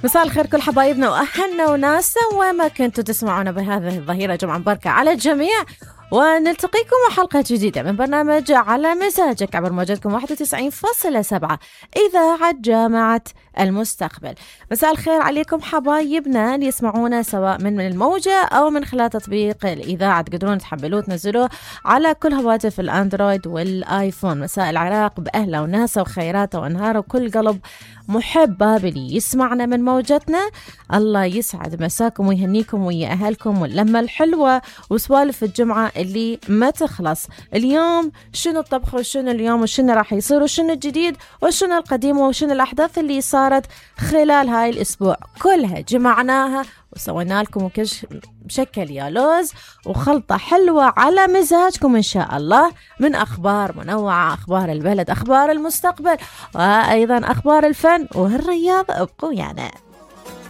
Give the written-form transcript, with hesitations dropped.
مساء الخير كل حبايبنا وأهلنا وناسنا وين ما كنتوا تسمعونا بهذه الظهيرة. جمعة مباركة على الجميع، ونلتقيكم وحلقة جديدة من برنامج على مزاجك عبر موجتكم 91.7 إذاعة جامعة المستقبل. مساء الخير عليكم حبايبنا اللي يسمعونا سواء من الموجة أو من خلال تطبيق الإذاعة، تقدرون تحملوه تنزلوه على كل هواتف الأندرويد والآيفون. مساء العراق بأهله وناسه وخيراته وأنهاره وكل قلب محب بابلي يسمعنا من موجتنا. الله يسعد مساكم ويهنيكم ويا أهلكم واللمة الحلوة وسوالف الجمعة اللي ما تخلص. اليوم شنو الطبخ وشنو اليوم وشنو راح يصير وشنو الجديد وشنو القديم وشنو الأحداث اللي صارت خلال هاي الأسبوع، كلها جمعناها وسوينا لكم بشكل يا لوز وخلطة حلوة على مزاجكم إن شاء الله، من أخبار منوعة، أخبار البلد، أخبار المستقبل، وأيضا أخبار الفن والرياضة. ابقوا يعني